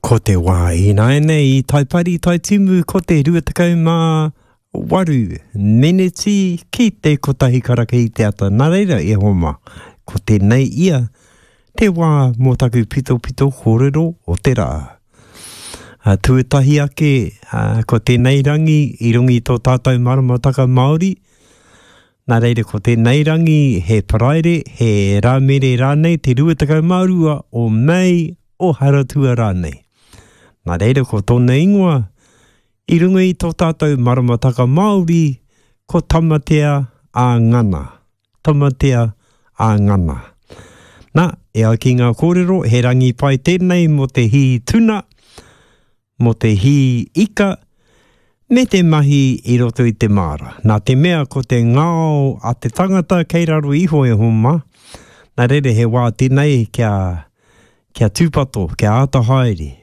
Ko te wā ināianei i Taipari, Taitimu, ko te 28 meneti ki te kotahi karaka i te ata. Nā reira, e hoa mā, ko tēnei ia te wā mō taku pitopito kōrero o te rā. Tuatahi ake, ko tēnei rangi i runga i tō tātou maramataka Māori, nā reira ko tēnei rangi he Paraire, he Rāmere rānei, te 22 o Mei, o Haratua rānei. Nā reira ko tōna ingoa, i runga i tō tātou maramataka Māori, ko Tamatea a Ngana. Tamatea a Ngana. Nā, e ai ki ngā kōrero, he rangi pai tēnei mō te hī tuna, mō te hī ika, me te mahi i roto i te māra. Nā te mea ko te ngao a te tangata kei raro iho e homa, nā reira he wā tēnei kia, kia tūpato, kia āta haere.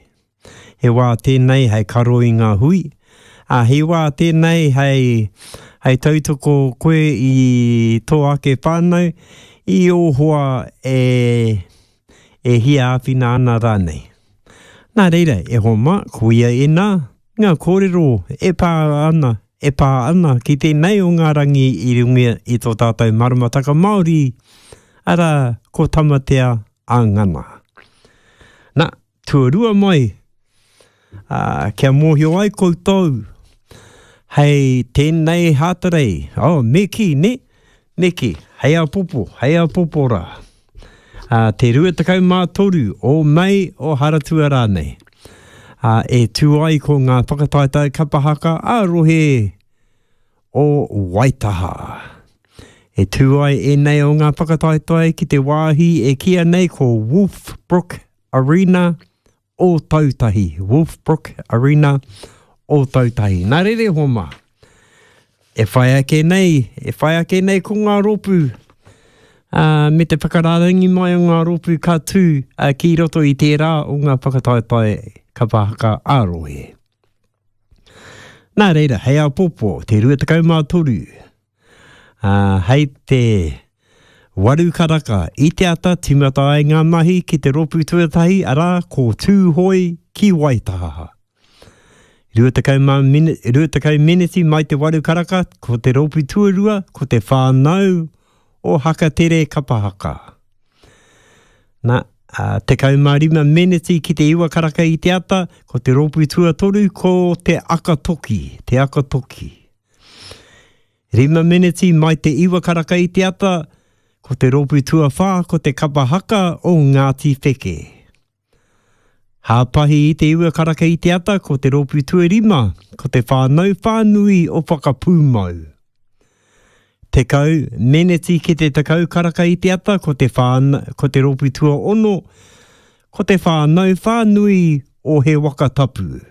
He wā tēnei hei karo i ngā hui, ā, he wā tēnei hei, hei tautoko koe i tō ake whānau, i ō hoa e, e hia āwhina ana rānei. Nā reira, e hoa mā, koia ēnā ngā kōrero e pā ana, e pā ana ki tēnei o ngā rangi i runga i tō tātou maramataka Māori, arā, ko Tamatea a Ngana. Nā, tuarua mai, ā, kia mōhio ai koutou, hei tēnei Hātarei, oh, me kī, nē? Me kī, hei āpōpō, hei āpōpō rā. Ā, te 23 o Mei o Haratua rānei. Ā, e tū ai ko ngā whakataetae kapa haka ā-rohe o Waitaha. E tū ai ēnei o ngā whakataetae ki te wāhi e kīia nei ko Wolfbrook Arena Ōtautahi, Wolfbrook Arena, Ōtautahi. Nā reira e hoa mā, e whai ake nei, e whai ake nei ko ngā rōpū, ā, me te whakarārangi mai o ngā rōpū ka tū ā, ki roto i tērā o ngā whakataetae kapa haka ā-rohe. Nā reira, hei āpōpō, te 23, Ā, hei te waru karaka i te ata tīmata ai ngā mahi ki te rōpū tuatahi, arā, ko Tūhoe ki Waitaha. 20 meneti mai te waru karaka, ko te rōpū tuarua, ko te whānau o Hakatere Kapa Haka. Nā, 15 meneti ki te iwa karaka i te ata, ko te rōpū tuatoru, ko Te Akatoki, Te Akatoki. Rima meneti mai te iwa karaka i te ata, ko te rōpū tuawhā ko te kapa haka o Ngāti Wheke. Hāpahi i te iwa karaka i te ata ko te rōpū tuarima ko te whānau whānui o Whakapūmau. 10 meneti ki te 10 karaka i te ata ko te whānau, ko te rōpū tuaono ko te whānau whānui o He Waka Tapu.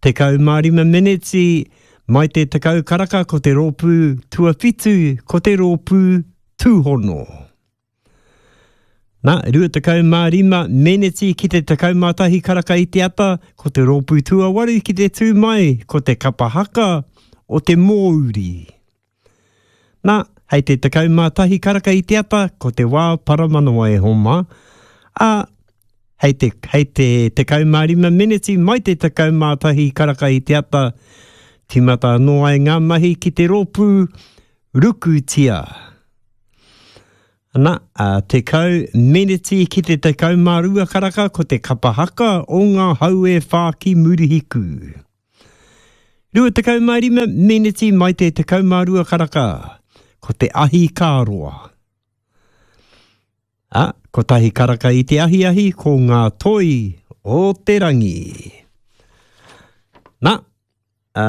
15 meneti mai te 10 karaka ko te rōpū tuawhitu ko te rōpū tūhono. Nā, 25 meneti ki te 11 karaka i te ata ko te rōpū tuawaru ki te tū mai ko te kapa haka o te Mōuri. Nā, hei te 11 karaka i te ata, ko te wā paramanawa e homa, ā, hei te, hei te 15 meneti mai te 11 karaka i te ata, tīmata anō ai ngā mahi ki te rōpū Rukutia. Ana, ā, 10 meneti ki te 12 karaka ko te kapa haka o ngā hau e whā ki Murihiku. 25 meneti mai te 12 karaka, ko te ahi ka roa. A, kotahi karaka i te ahiahi, ko ngā toi o te rangi. Na, a,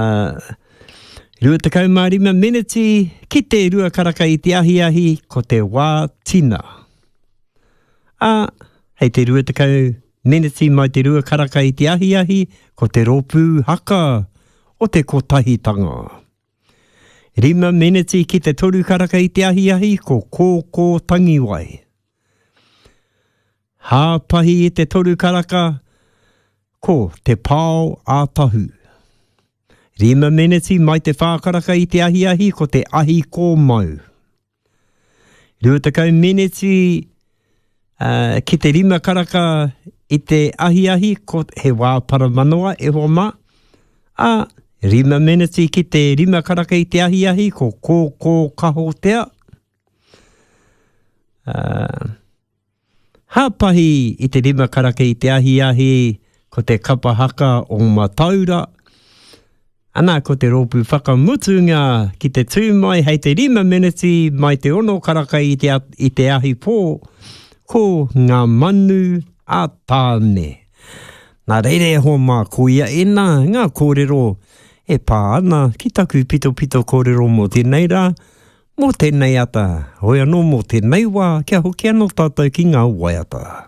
25 meneti ki te rua karaka i te ahiahi, ko te wā tina. A, hei te 20 Meneti mai te rua karaka i te ahiahi, ko te rōpū haka o te Kotahitanga. Rima meneti ki te toru karaka i te ahiahi, ko Kōkō Tangiwai. Hāpahi i te toru karaka, ko Te Pao a Tahu. Rima meneti mai te whā karaka i te ahiahi, ko te Ahi Kōmau. 20 meneti ki te rima karaka i te ahiahi ko he wā paramanawa e hoa mā, ā, rima meneti ki te rima karaka i te ahiahi ko Kōkō Kahotea, ā, Hāpahi i te rima karaka i te ahiahi ko te kapa haka o Mataura, ana ko te rōpū whakamutunga ki te tū mai hei te rima meneti mai te ono karaka i te, i te ahi pō, ko Ngā Manu a Tāne. Nā reira e hoa mā, koia ēnā ngā kōrero e pā ana ki taku pitopito kōrero mō tēnei rā, Mō tēnei ata, hoi anō mō tēnei wā, kia hoki anō tātou ki ngā waiata.